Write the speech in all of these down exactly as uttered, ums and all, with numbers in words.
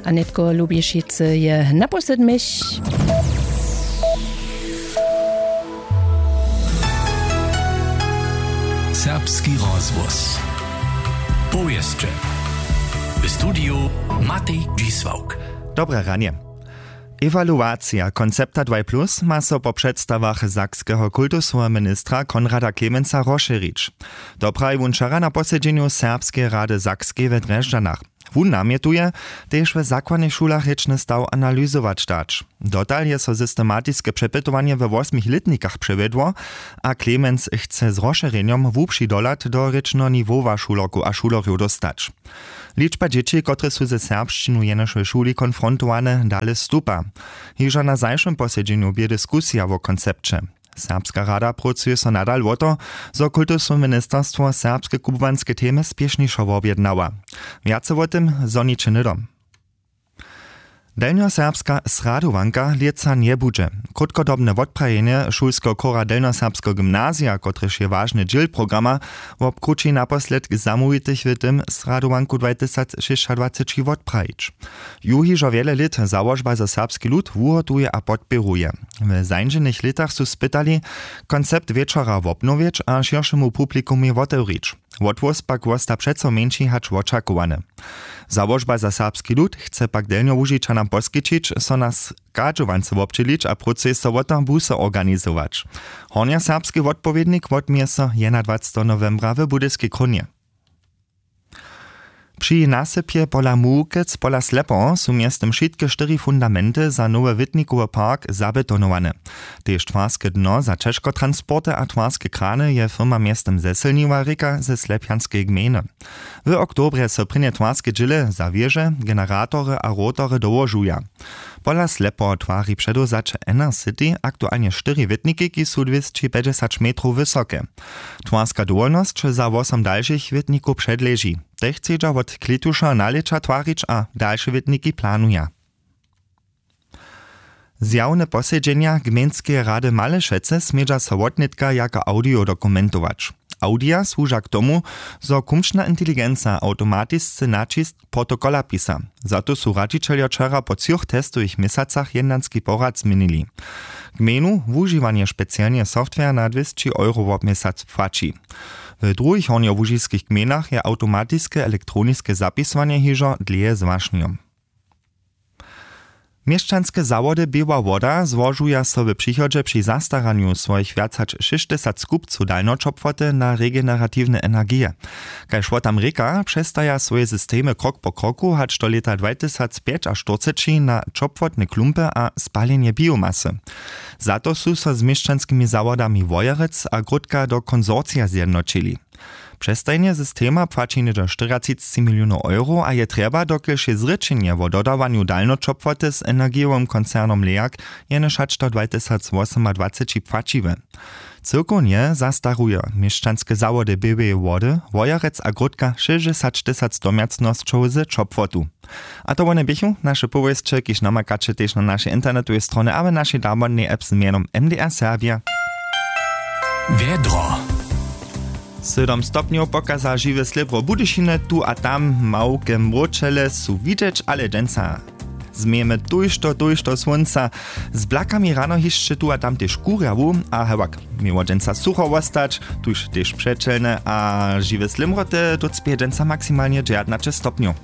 A nětko lubišicy je naposlednich. Serbski rozhłos. Powěsće. W studiju Matej Dźisławk. Dobre ranje. Ewaluacija koncepta dwaj plus ma so po předstawach sakskeho kultusoweho ministra Konrada Klemensa rozšěrić. To praji wón wčera na posedźenju Serbskeje rady Sakskej w Drježdźanach. Wón namjetuje, tež w zakładnych šulach rěčny staw analyzować dać. Dotal je so systematiske přepytowanje we wosmich lětnikach přewjedło a Klemenc chce z rozšěrjenjom hłubši dohlad do rěčneho niwowa šulerkow a šulerjow dóstać. Ličba dźěći, kotrež su ze serbšćinu jenož w šuli konfrontowane, dale stupa. Hižo na zašłym posedźenju bě diskusija wo koncepće. Serbska rada prócuje so nadal wo to, zo kultusowe ministerstwo serbske kubłanske temy spěšnišo wobjednała. Wjace wo tym zhoniće hnydom. Delnjoserbska sradowanka lětsa njebudźe. Krótkodobne wotprajenje šulskeho chóra delnjoserbskeho gymnazija, kotrež je wažny dźěl programa, wobkrući naposledk zamołwitych w tym sradowanku dwajtysacšěsćadwaceći wotprajić. Ju hižo wjele lět załožba za serbski lud wuhotuje a podpěruje. W zańdźenych lětach su spytali, koncept wječora wobnowjeć a šěršemu publikumej wotewrić. Wotwóz pak wosta přeco mjeńši hač wočakowany. Załožba za serbski lud chce pak delnjołužičanam poskićić so na schadźowance wobdźělić a prócuje so wo to busy organizować. Hornjoserbski wotpowědnik wotměje so jedynadwaceteho nowembra w budyskej krónje. Při nasypje pola Mułkec pola Slepoho su mjeztym wšitke štyri fundamenty za nowy wětnikowy park zabetonowane. Tež twarske dno za ćežkotransporty a twarske krany je firma mjeztym zesylniła, rěka ze slepjanskeje gmejny. W oktobrje so prěnje twarske dźěle za wěže, generatory a rotory dołožuja. Pola Slepoho twari předewzaće Inner City aktualnje štyri wětniki, kiž su dwěsći pjećdźesać metrow wysoke. Twarska dowolnosć za wosom dalšich wětnikow předleži. Te chcedźa wot klětuša nalěća twarić a dalše wětniki planuja. Zjawne posedźenja gmejnskeje rady Malešecy smědźa so wotnětka jako audio dokumentować. Audija słuža k tomu, zo kumčna inteligenca awtomatisce naćisk protokola pisa. Za to su radźićeljo wčera po třoch testowych měsacach jednanski porad změnili. Gmejnu wužiwanje specialneho software na dwěsći euro wob měsac płaći. W druhich hornjołužiskich gmejnach je awtomatiske elektroniske zapisowanje hižo dlěje z wašnjom. Měšćanske zawody Běła Woda złožuja so w přichodźe při zastaranju swojich wjac hač šěsćtysac kupcow dalnjoćopłoty na regeneratiwne energije. Kaž wo tam rěka, přestaja swoje systemy krok po kroku hač do lěta dwajtysacpjećaštyrceći na ćopłotne klumpy a spaljenje biomasy. Za to su so z měšćanskimi zawodami Wojerec a Grótka do konsorcija zjednoćili. Přestajnje systema płaći něhdźe štyriatřicci milionow euro a je trjeba, dokelž je zrěčenje wo dodawanju dalnjoćopłoty z energijowym koncernom Leag jenož hač do dwajtysacwosomadwaceći płaćiwe. Cyłkownje zastaruje měšćanske zawody Běłeje Wody, Wojerec a Grótka šěsćdźesać tysac domjacnosćow z ćopłotu. A to wone běchu naše powěsće, kiž namakaće tež na našej internetowej stronje a w našej damodnej app z mjenom M D R Serbje. Wjedro. Sydom stopnjow pokaza žiwe slěbro Budyšiny, tu a tam małke mróčele su widźeć, ale dźensa změjemy tójšto tójšto słónca. Z blakami rano hišće tu a tam tež kurjawu a hewak, měło dźensa sucho wostać, tuž tež přećelne a žiwe slěmroty, docpěje dźensa maksimalnje dźewjatnaće stopnjow.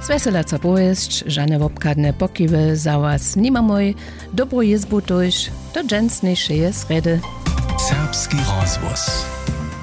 Swjeselaca powěsć, žane wobchadne pokiwy za was nimamoj. Dobru jězbu tójž do dźensnišeje srjedy. Serbski rozhłos.